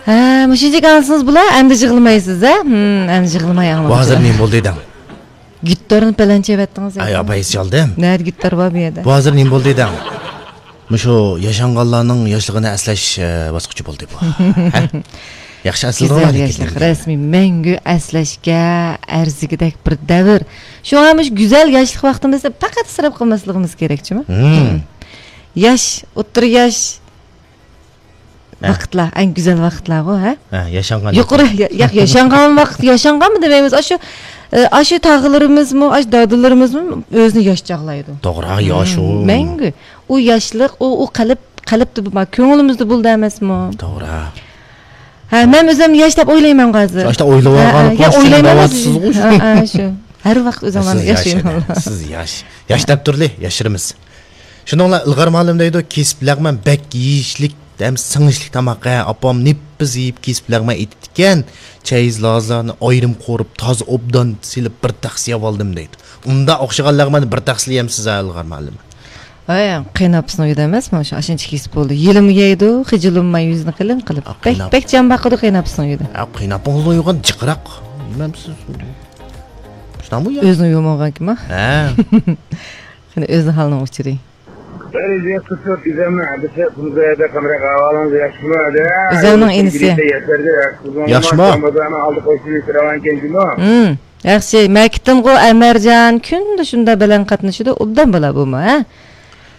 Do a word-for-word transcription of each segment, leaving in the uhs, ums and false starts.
ھە، مۇشۇنچىلىك ئاڭلىسىڭىز بولا، ئەمدى يىغلىمايسىز، ھە؟ ھىم، ئەمدى يىغلىماي ئاڭلاڭ. بۇ ھازىر نېمە بولدى دەڭ؟ گىتارنى پەلەنچە ئەۋەتتىڭىز ئاي، دەيدۇ. ئاپايسى چالدىم. نەدە گىتار بار بۇ يەردە؟ بۇ ھازىر نېمە بولدى دەڭ؟ مۇشۇ ياشانغانلارنىڭ ياشلىقىنى ئەسلەش، ئە، باسقۇچى بولدى بۇ. ھە؟ ياخشى ئەسلىدىڭلار گۈزەل لېكىن ياشلىق، دېگەن. رەسمىي مەڭگۈ ئەسلەشكە ئەرزىگۈدەك بىر دەۋر. شۇڭا مۇشۇ گۈزەل ياشلىق ۋاقتىمىزنى پەقەت ئىسراپ قىلماسلىقىمىز كېرەكچىمۇ؟ ھىم. ياش، ئوتتۇرا ياش، ھە. ۋاقىتلار، ئەڭ گۈزەل ۋاقىتلارغۇ، ھە؟ ھە، ياشانغان يۇقىرى، يا-، يا-، ياشانغان ۋاقىت، ياشانغانمۇ دېمەيمىز. ئاشۇ، ئە، ئاشۇ تاغىلىرىمىزمۇ، ئاشۇ دادىلىرىمىزمۇ ئۆزىنى ياش چاغلايدۇ. توغرا، ياش ئۇ. مەڭگۈ. ئۇ ياشلىق، ئۇ، ئۇ قەلب، قەلبتە بار، كۆڭلىمىزدە بولىدۇ ئەمەسمۇ؟ توغرا. ھە، مەن ئۆزۈمنى ياش دەپ ئويلايمەن ھازىر. شۇ ئاشتا ئويلاۋالغان ھە، ھە، يا ئويلايمەن. ھە، ھە، شۇ. ھەر ۋاقىت ئۆزۈڭلارنى سىز ياش ياشايمەن. ئىدى، سىز ياش. ياش دەپ تۇرلى، ياشىرىمىز. شۇنىڭلا ئىلغار مۇئەللىم دەيدۇ، كېسىپ لەغمەن بەك يېيىشلىك ھەم سىڭىشلىك تاماق، ھە، ئاپام نېپىز يېيىپ كېسىپ لەغمەن ئېتىپتىكەن، چەيز لازلارنى ئايرىم قورۇپ، تازا ئوبدان سېلىپ بىر تەخسە يەۋالدىم دەيدۇ. ئۇنداق ئوخشىغان لەغمەننى بىر تەخسىلا يەمسىز ھە، ئىلغار مۇئەللىم؟ ھەي، قېيىنئاپىسىنىڭ ئۆيىدە ئەمەسمۇ شۇ، ئاشۇنچە كېسىپ بولدى. يېلىمۇ يەيدۇ، خىجىللىنماي يۈزىنى قىلىم قىلىپ. بەك، بەك جان باقىدۇ قېيىنئاپىسىنىڭ ئۆيىدە. ھە، قېيىنئاپىڭىزنىڭ ئۆيى جىقراق. بىلمەمسىز؟ شۇنداقمۇ يا؟ ئۆزىنىڭ ئۆيى بولمىغانكىنما؟ ھە. قېنى ئۆزىنىڭ ھالىنىڭ ئۇچۇرى. بىر يۈز يەتمىش تۆت ئۆزەمنىڭ ئادىسى، بۇنىڭ يەردە قامراق ئەھۋالىڭىز ياخشىمۇ؟ ئۆزەمنىڭ ئىنىسى. ياشىمۇ؟ بازارنىڭ ئالدى قوشۇنى راۋانكەن جۇمۇ. ھىم، ياخشى. مەكىتتىنغۇ ئەمەرجان كۈندە شۇنداق بىلەن قاتنىشىدۇ، ئوبدان بالا بۇمۇ، ھە؟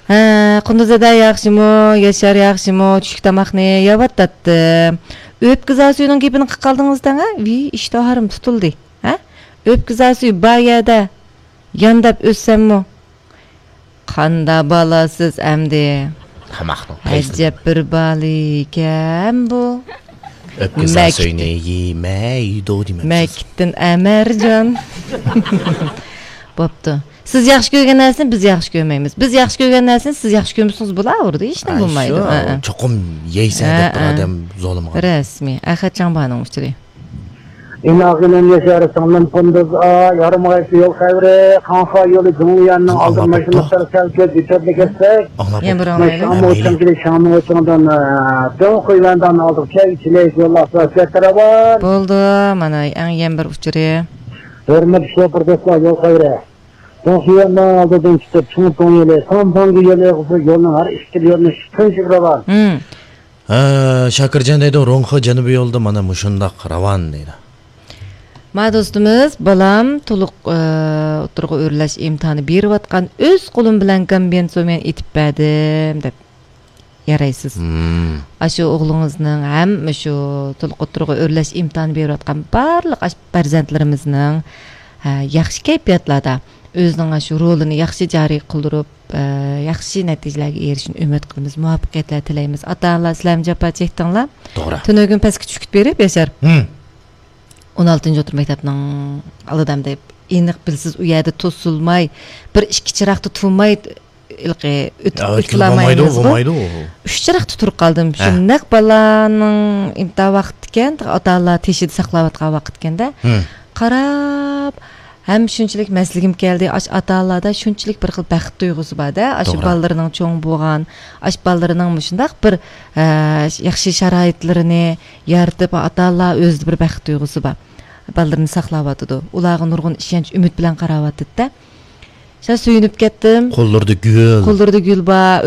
ھە، قۇندۇزەدە ياخشىمۇ، ياشار ياخشىمۇ، چۈشلۈك تاماقنى يەۋاتاتتى. ئۆپكە زاسۈينىڭ گېپىنى قىلىپ قالدىڭىز دەڭ، ھە؟ ۋىي، ئىشتىھارىم تۇتۇلدى، ھە؟ ئۆپكە زاسۈي بار يەردە يانداپ ئۆتسەممۇ، قاندا بالاسىز ئەمدى. تاماقنىڭ پەيزى. ئەجەب بىر بالىكەن بۇ. ئۆپكە مەكىت-، زاسۈينى يېمەيدۇ دېمەمسىز. مەكىتتىن ئەمەرجان. بوپتۇ. سىز ياخشى كۆرگەن نەرسىنى بىز ياخشى كۆرمەيمىز. بىز ياخشى كۆرگەن نەرسىنى سىز ياخشى كۆرمىسىڭىز بولاۋېرىدۇ، ھېچنېمە بولمايدۇ. ھە، ھە. چوقۇم يەيسەن دەپ بىر ئادەم زورلىمىغان. رەسمىي. ئەخەتجان بارنىڭ ئۇچۇرى. ئىناغىنىم ياشار، سىڭلىم قۇندۇز، ئا، يارىمىغايسى يول خەۋىرى، قاڭخا يولى جۇڭلىياننىڭ ئالدىدا ماشىنا سەل كەلسەك، يېتەرلىك ئەتسەك. ئاڭلاپ يەنە بىر ئاڭلايلى. شامۇ چىڭكىلى شامۇ چىڭدىن، ئە، دۆڭ قۇيۋەنداننىڭ ئالدىغا كەل، چىلەيسى يوللار سۆھبەت راۋان. بولدى، مانا ئەڭ يەنە بىر ئۇچۇرى. ھۆرمەتلىك شوپۇر دوستلار، يول خەۋىرى. دۆڭ قۇيۋەنداننىڭ ئالدىدىن چىقىپ، چوڭ توڭ يولى، ساڭ توڭگا يولى، يولنىڭ ھەر ئىككى يولىنى تىنچلىق راۋان. ھە، شاكىرجان دەيدۇ، روڭخې جەنۇبىي يولىدا مانا مۇشۇنداق راۋان دەيدۇ. ما دوستىمىز، بالام تولۇق، ئى، ئوتتۇرىغا ئۆرلەش ئىمتىھانى بېرىۋاتقان، ئۆز قولۇم بىلەن كومبىنېزومېن ئېتىپ بەردىم دەپ يارايسىز. مم. ئاشۇ ئوغلىڭىزنىڭ ھەم مۇشۇ تولۇق ئوتتۇرىغا ئۆرلەش ئىمتىھانى بېرىۋاتقان بارلىق ئاش-، پەرزەنتلىرىمىزنىڭ، ھە، ياخشى كەيپىياتلاردا ئۆزىنىڭ ئاشۇ رولىنى ياخشى جارى قىلدۇرۇپ، ئى، ياخشى نەتىجىلەرگە ئېرىشىشىنى ئۈمىد قىلىمىز، مۇۋەپپەقىيەتلەر تىلەيمىز. ئاتا-ئانىلار، سىلەرمۇ جاپا چەكتىڭلار. توغرا. تۈنۈگۈن پەسكە چۈشكۈت بېرىپ، ياشار. ھىم. ئون ئالتىنچى ئوتتۇرا مەكتەپنىڭ ئالدىدا ئەمدى ئېنىق بىلىسىز، ئۇ يەردە توسۇلماي، بىر ئىككى چىراغدا تۇرماي، ھېلىقى ئۆتۈپ، ھە، ئۆتكىلى بولمايدۇ، بولمايدۇ. ئۇ. ئۈچ چىراغدا تۇرۇپ قالدىم. ھە. شۇنداق بالىنىڭ ئىمتىھان ۋاقتىكەن، ئاتا-ئانىلار تېشىدا ساقلاۋاتقان ۋاقىتكەندە. ھىم. قاراپ، ھەم شۇنچىلىك مەستلىكىم كەلدى. ئاشۇ ئاتا-ئانىلاردا شۇنچىلىك بىر خىل بەخت تۇيغۇسى بار-دە. ئاشۇ توغرا. بالىلىرىنىڭ چوڭ بولغان، ئاشۇ بالىلىرىنىڭ مۇشۇنداق بىر، ئە، ياخشى شارائىتلىرىنى يارىتىپ، ئاتا-ئانىلار ئۆزىدە بىر بەخت تۇيغۇسى بار. بالىلىرىنى ساقلاۋاتىدۇ. ئۇلارغا نۇرغۇن ئىشەنچ، ئۈمىد بىلەن قاراۋاتىدۇ-دە. شۇ سۆيۈنۈپ كەتتىم. قوللىرىدا گۈل. قوللىرىدا گۈل بار.